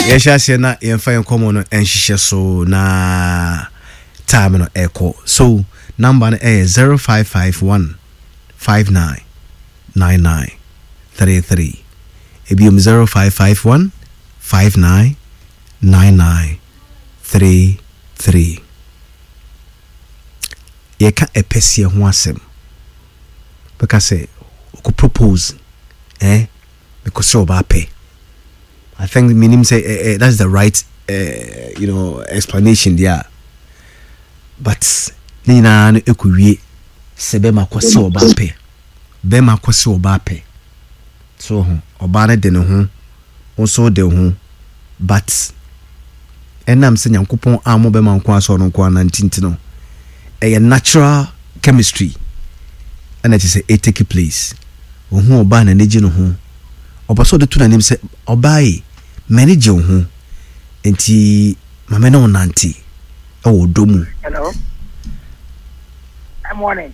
Yɛhyɛ aseɛ na yɛmfa yɛn nkɔmmɔ no nhyehyɛ so na time no ɛkɔ. So number no ɛyɛ 0551 59 99 33. Ebiom 0551 59 99 33. Yɛka ɛpɛseɛ ho asɛm. Bɛka sɛ ɔkɔ propose eh mekɔ sɛ ɔbaa pɛ. I think menim sɛ eh, eh, that's the right eh, you know explanation there. But ne nyinaa no ɛkɔ wie sɛ bɛma kɔ sɛ ɔbaa pɛ. Bɛma kɔ sɛ ɔbaa pɛ. So ho ɔbaa no de ne ho wo nso wode wo ho but ɛnam sɛ Nyankopɔn ammɔ bɛma nko ara sɛ ɔno nko ara nante nti no ɛyɛ natural chemistry ɛna kyerɛ sɛ it take place. Ohu ɔbaa n'ani gye ne ho, ɔpɛ sɛ ɔde to n'anim sɛ ɔbaa yi m'ani gye wo ho nti ma me ne wo nante ɛwɔ ɔdɔ mu. Hello. Good morning.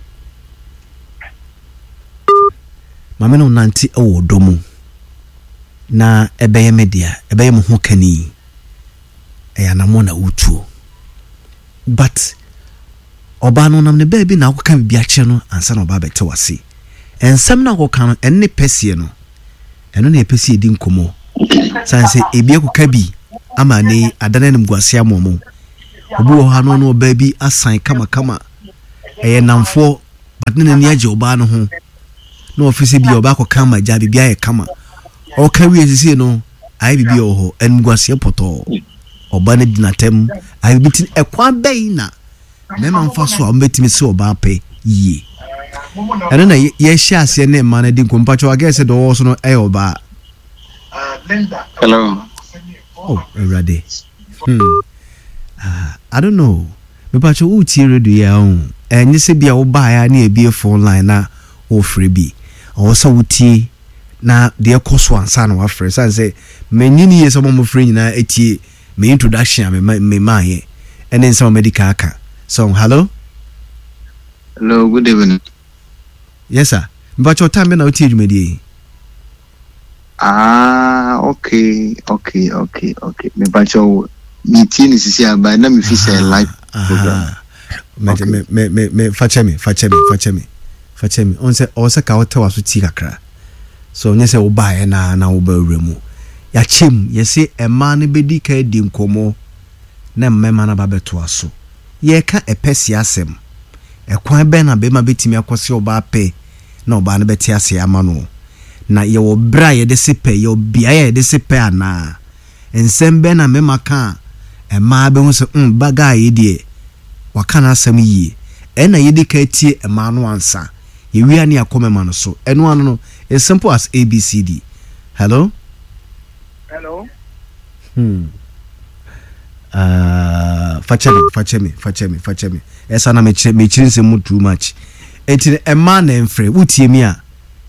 Ma me ne wo nante ɛwɔ ɔdɔ mu. Na ɛbɛyɛ me dea, ɛbɛyɛ mo ho kani. Ɛyɛ anammɔn na wotuo. But ɔbaa no ɔnam ne baabi na akɔka biribi akyerɛ no ansa na ɔba abɛte w'ase. Nsɛm no a akɔka no, ɛno ne pɛseɛ no. Ɛno na yɛpɛ sɛ yɛdi nkɔmmɔ. Sane sɛ ebi akɔka bi ama ne yi adane animguase ama ɔmo. Obi wɔ hɔ a na ɔne ɔbaa bi asan kamakama. Ɛyɛ nnamfoɔ but ne n'ani agye ɔbaa no ho. Na ɔfe sɛ bi a ɔbaa akɔka ama agya biribi ayɛ kama. Ɔka wie sisi no ayɛ biribi wɔ hɔ animguaseɛ pɔtɔɔ. Ɔbaa no di n'atɛm ayɛ biribi ti ɛkwan bɛn na mmarima mfa so a wɔbɛtumi sɛ ɔbaa pɛ yie. Ɛno na yɛhyɛ aseɛ ne mmaa no di nkɔmmɔ. Mpakyɛw agɛɛ sɛ deɛ ɔwɔ so no ɛyɛ ɔbaa. Hello. Oh, Awurade. Hmm. Ah, I don't know. Mepakyɛw woretie radio yi a oh, ɛnyɛ sɛ bi a wobaeɛ a ne yɛabue phone line na worefrɛ bi. Ɔwɔ sɛ wotie na deɛ ɛkɔ so ansa na wafrɛ. Sane sɛ mennye ne yie sɛ wɔn a wɔfrɛ nyinaa atie me introduction a memaeɛ ɛne nsɛm a madi kan aka. So, hello? Hello, good evening. Yes sir. Mepakyɛw time bɛn na wotie dwumadie yi? Ah, okay, okay, okay, okay. Me pacho, me tie ne sisi aba na me fi sɛ live program. Me okay. me me me me fa kyɛ me, fa kyɛ me, fa kyɛ me. Fa kyɛ me. On sɛ ɔwɔ sɛ ka wote waso tie kakra. So nyɛ sɛ wobaeɛ na na woba wura mu. Yɛakyɛ mu, yɛse mmaa no bɛdi ka adi nkɔmmɔ na mmarima no aba bɛtoa so. Yɛreka ɛpɛ asɛm. Ɛkwan bɛn na bɛrima bɛtumi akɔse ɔbaa pɛ na ɔbaa no bɛte aseɛ ama no? Na yɛwɔ berɛ a yɛde se pɛ, yɛwɔ beaeɛ a yɛde se pɛ anaa? Nsɛm bɛn na mmarima ka a mmaa bɛhu sɛ mm, ba guy yi deɛ waka n'asɛm yie. Ɛnna yɛdi kan tie mmaa no ansa. Yɛwie a ne yɛakɔ mmarima no so. Ɛno ano no, it's simple as ABCD. Hello? Hello? Hmm. Uh, fakyɛ me, fakyɛ me, fakyɛ me, fakyɛ me. Ɛsa na mekyerɛ mekyerɛ nsɛm mu too much. Enti mmaa na ɛmfrɛ. Wotie mi a,